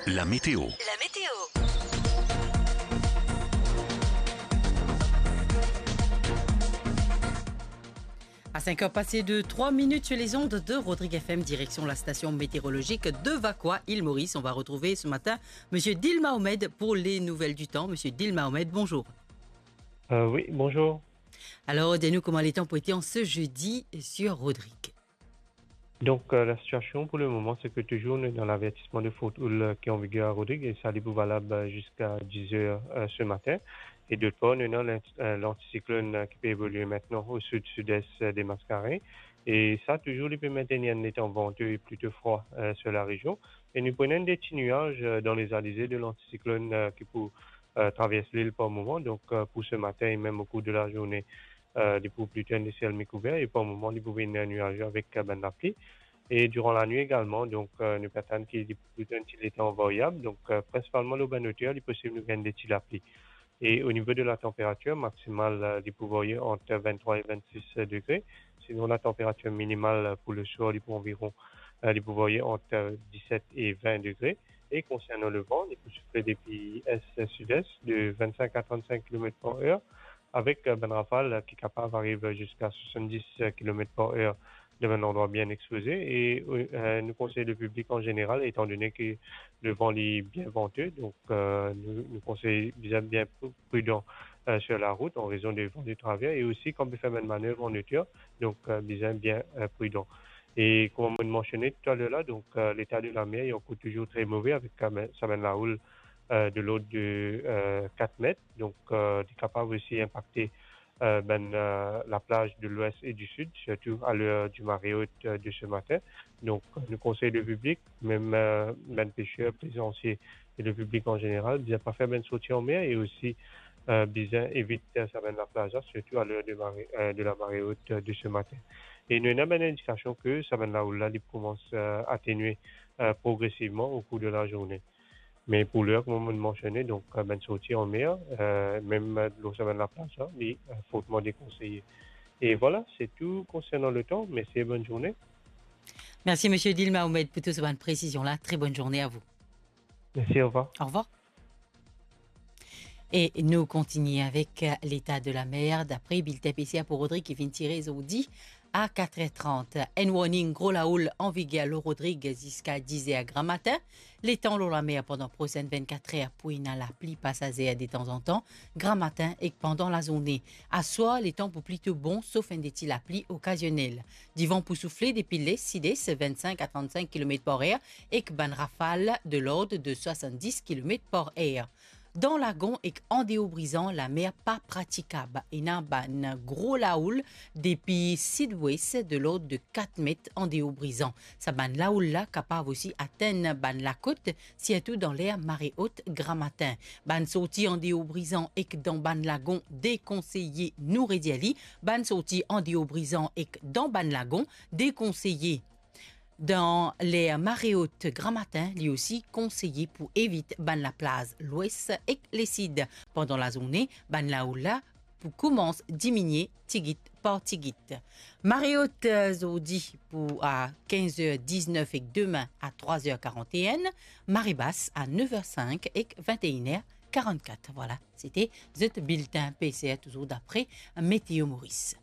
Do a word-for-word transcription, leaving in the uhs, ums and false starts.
La météo. La météo. À cinq heures passées de trois minutes sur les ondes de Rodrigue F M, direction la station météorologique de Vacoas, île Maurice. On va retrouver ce matin Monsieur Dil Mahomed pour les nouvelles du temps. Monsieur Dil Mahomed, bonjour. Euh, oui, bonjour. Alors, dis-nous comment le temps peut être en ce jeudi sur Rodrigue. Donc, euh, la situation pour le moment, c'est que toujours on est dans l'avertissement de forte houle, euh, qui est en vigueur à Rodrigue, et ça, il est valable, euh, jusqu'à dix heures, euh, ce matin. Et d'autre part, on a l'ant-, euh, l'anticyclone, euh, qui peut évoluer maintenant au sud-sud-est, euh, des Mascareignes. Et ça, toujours, il peut maintenir un temps venteux et plutôt froid, euh, sur la région. Et nous prenons des petits nuages, euh, dans les alizés de l'anticyclone, euh, qui peut, euh, traverser l'île par moment. Donc, euh, pour ce matin et même au cours de la journée, euh, li pou plito enn lesiel mikouver e par moman li pou vinn nuaze avek, euh, bann lapli. E diran lanwit egalman, donk, euh, nou pe atann ki li pou plito enn ti letan variab. Donk, euh, prinsipalman lor bann oter, li posib nou gagn de ti lapli. E o nivo de la tanperatir maksimal, euh, li pou varye ant venntrwa e vennsis degre. Sinon, la tanperatir minimal, euh, pou le swar, li pou anviron, euh, li pou varye ant, euh, diset e vin degre. E konsernan levan, li pou soufle depi est-sud-est de vingt-cinq à trente-cinq kilomètres par heure, avek, euh, bann rafal, euh, ki kapav ariv ziska soixante-dix kilomètres par heure dan bann landrwa bien expoze. E, euh, nou konsey le piblik an zeneral, etan done ki levan li bien vante, donk, euh, nou, nou konsey bizin bien pr-, pridan, euh, sur la rout an rezon de van de traver e osi kan pe fer bann manev an oter, donk, euh, bizin bien, euh, pridan. E kouma mo mansione toutaler la, donk, euh, leta de lamer li ankor touzour tre move avek, euh, sa bann laoul, euh, de lord de, euh, kat met. Donk, euh, li kapav osi inpakte, euh, bann, euh, laplaz de lwes e di sid, sirtou a ler di mare ot, euh, de se matin. Donk, nou konsey le piblik, mem, euh, bann peser, plezansier e le piblik an zeneral, bizin pa fer bann sorti an mer e osi, euh, bizin evit, euh, sa bann laplaz la, sirtou a ler de mare, euh, de la mare ot, euh, de se matin. E nou ena bann indikasion ki sa bann laoul la, li pou koumans, euh, atenue, euh, progresivman o kour de la zourne. Me pou ler, kouma mo mansione, donk, euh, bann sorti an mer, euh, mem, euh, lor sa bann laplaz la, li, euh, fortman dekonseye. E vwala, se tou konsernan letan. Mersi e bonn zourne. Merci, Monsieur Dil Mahomed, pour toute cette bonne précision-là. Très bonne journée à vous. Mersi, orvwar. Au revoir. E nou kontigne avek, euh, leta de lamer, dapre bilten P C A pou Rodrig ki finn tire zordi a kat er trant. Enn warning gro laoul an viger lor Rodrig ziska diz er gramatin. Letan lor lamer pandan prosenn vennkat er pou ena lapli pasazer detanzantan, gramatin ek pandan lazourne. Aswar, letan pou plito bon, sof enn de ti lapli okazionel. Divan pou soufle depi les, sides, vennsenk a trannsenk kilomet par er, ek bann rafal de lord de swasanndis kilomet par er. Dan lagon ek andeor Brizan, lamer pa pratikab. Ena bann gro laoul depi sidwes de lord de kat met andeor Brizan. Sa bann laoul la kapav osi atenn bann lakot, sirtou dan ler mare ot gramatin. Bann sorti andeor Brizan ek dan bann lagon dekonseye, nou redir li, bann sorti andeor Brizan ek dan bann lagon dekonseye. Dan ler mare ot gramatin, li osi konseye pou evit bann laplaz lwes ek lesid. Pandan lazourne, bann laoul la pou koumans diminie tigit par tigit. Mare ot, eh, zordi pou a kinz er diznef ek demin a trwa er karant-e-enn, mare bas a nef er sink ek vinte-e-enn er karant-kat. Vwala, sete zot bilten P C R, touzour dapre Météo Maurice.